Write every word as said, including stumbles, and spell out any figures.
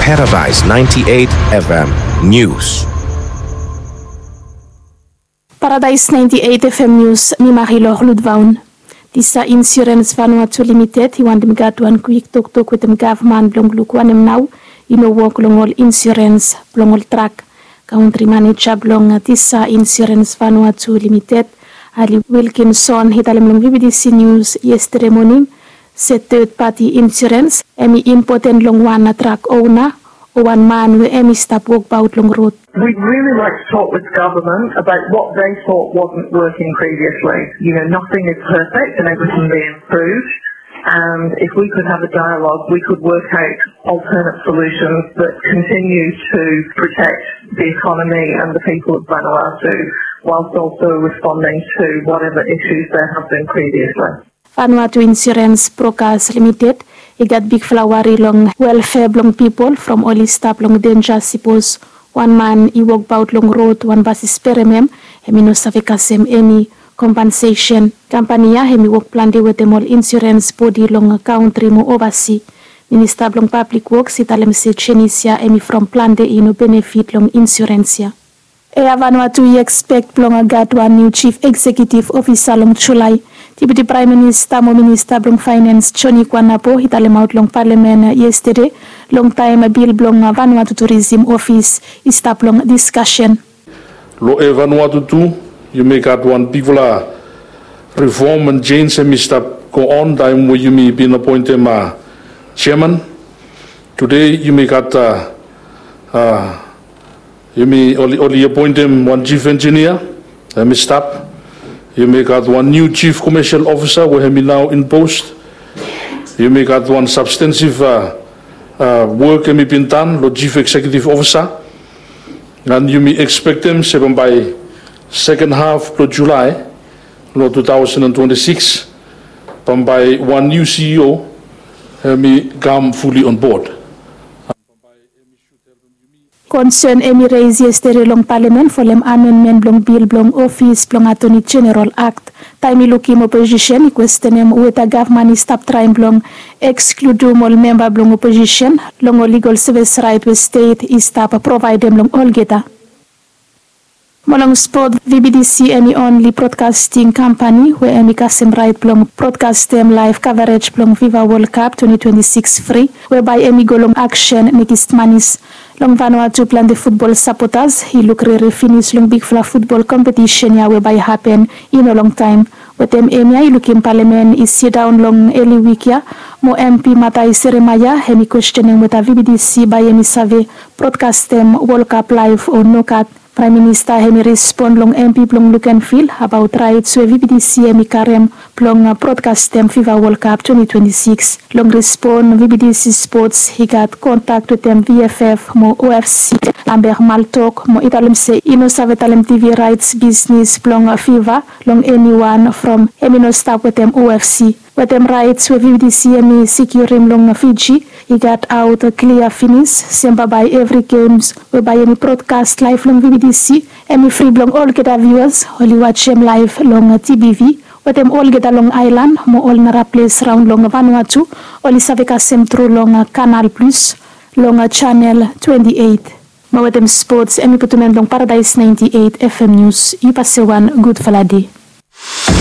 Paradise ninety-eight F M News. Paradise ninety-eight F M News, mi Marilor Ludvaun. Disa Insurance Vanuatu Limited i wantem gat wan kwik toktok wetem gavman blong luk wanem nao i no wok long ol insurance blong ol trak. Country manager blong disa Insurance Vanuatu Limited, Ali Wilkinson, i talem long V B T C News yestede moning se third party insurance hemi impoten long wan trak ona o wan man we hemi stap wokbaot long rod. We'd really like to talk with government about what they thought wasn't working previously. You know, nothing is perfect and everything be improved. And if we could have a dialogue, we could work out alternate solutions that continue to protect the economy and the people of Vanuatu, whilst also responding to whatever issues there have been previously. Vanuatu Insurance Brokers Limited i gat bigfala wari long welfare blong pipol from oli stap long denja sipos wan man i wokbaot long rod wan bas i sperem hem, hemi no save kasem eni compensation. Kampani ya hemi wok plante wetem ol insurance bodi long kantri mo ovasi. Minista blong Pablik Woks i talem se jenis ya hemi from plante i no benefit long insurance ya. Air Vanuatu i ekspek blong gat wan niu chief executive officer long Julae. Deputy Prime Minister mo Minister blong Finance Johnny Kuanapo i talemaot long Parliament yestede long taem bil blong Vanuatu Tourism Office i stap long discussion. Long Air Vanuatu tu, yumi gat wan bigfala reform and change hemi stap go on taem we yumi bin apoentem chairman. Tede yumi gat, yumi oli apoentem wan chief engineer hemi stap. Yumi gat wan niu chief commercial officer we hemi nao in post. Yumi gat wan substantive work hemi bin tan long chief executive officer. And yumi ekspektem se bambae second half blong Julae long two thousand and twenty-six, bambae wan niu C E O hemi kam fully on board. Concern hemi raise yestede long Parliament folem amendment blong bil blong Office blong Attorney General Act. Taem i lukim opposition i kwestenem weta gavman i stap traem blong ekskludim ol memba blong opposition long ol legal service raet we stet i stap provaedem long olgeta. Mo long spot, V B T C hemi onli broadcasting kampani we hemi kasem raet blong broadcastem laev coverage blong FIFA World Cup twenty twenty-six fri, webae hemi go long aksen Mekis Manis. Long Vanuatu plante futbol sapotas i luk rere finis long bigfala futbol kompetisen ya webae i hapen i no longtaem. Wetem hemia i lukim Palamen i sidaon long eli wik ya, mo MP Matai Seremaia hemi kwestenem weta V B T C bae hemi save broadcastem World Cup laev o nogat. Praem Minista hemi respon long MP blong Lukenvil abaot raets we V B T C hemi karem blong broadcastem FIFA World Cup twenty twenty-six. Long respon, V B T C Sports i gat kontak wetem VFF mo OFC, Lambert Maltok, mo i talem se i no save talem TV raets bisnis blong FIFA long eniwan from hemi no stap wetem OFC. Wetem raets we V B T C hemi sekiurim long Fiji, i gat aot klia finis se bambae evri gems we bae hemi broadcast laev long V B T C hemi fri blong olgeta viuas oli wajem laev long TBV, wetem olgeta long aelan mo ol nara ples raon long Vanuatu oli save kasem tru long Canal Plus long Channel twenty-eight. Mo wetem spots, hemi putum en long Paradise ninety-eight FM News. Yu pase wan gudfala dei.